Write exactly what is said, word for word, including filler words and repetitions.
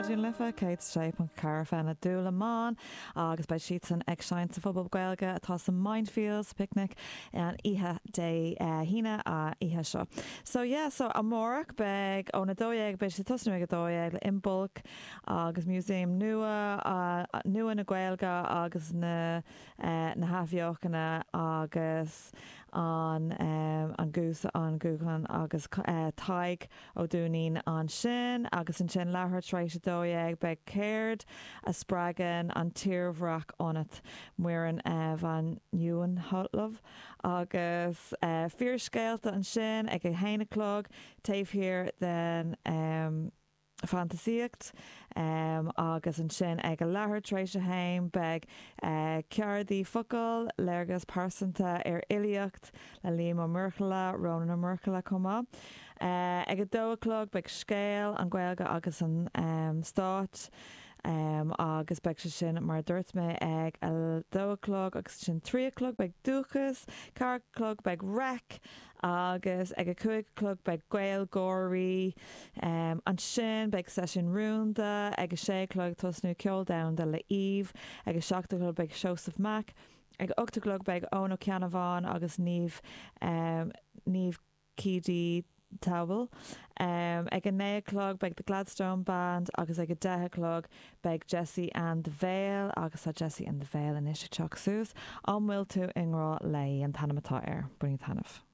Raidió na Life céad sé ponc ceathair FM le Dúlamán agus beidh siadsan ag seinnt sa phuball Gaeilge atá sa Mindfields Picnic an oíche Dé hAoine a oíche seo. So yeah, so amárach beidh óna dó dhéag beidh sé tosnú ag a dó dhéag le Imbolc agus Museum nua uh, nua na Gaeilge agus na uh, na hathbheochana agus an um, an gús an gúchan agus uh, Tadhg Ó Duinnín ansin agus ansin leathuair tar éis a dó dhéag beidh céard a spreagann an tírdhreach ionat Muireann uh, van Nieuwenhove agus uh, fíorscéalta ansin ag a haon a chlog taobh thiar den um, fantaisíocht um, agus ansin ag a leathuair tar éis a haon beidh uh, ceardaí focal léargas pearsanta ar fhilíocht le Liam Ó Muirthile Rónán Ó Muirthile chomh maith. Uh, ag a dó a chlog beidh scéal an Ghaeilge agus an um, stát. Um, agus beidh sé sin mar dúirt mé ag a dó a chlog agus sin trí a chlog beidh dúchas, ceathair a chlog beidh rec agus ag a cúig a chlog beidh Gaelgáirí um, ansin beidh seisiún rúnda ag a sé chlog tosnú ceol domhanda le Eve ag a seacht a chlog beidh Joseph Mac ag ocht a chlog beidh Eoin Ó Ceannabháin agus Niamh um, Niamh Keady Towel. Um, ag a naoi a chlog beidh the Gladstone Band agus ag a deich a chlog beidh Jesse and the Veil agus tá Jesse and the Veil anois ag teacht suas an bhfuil tú i ngrá léi an t-ainm atá air, bainígí taitneamh.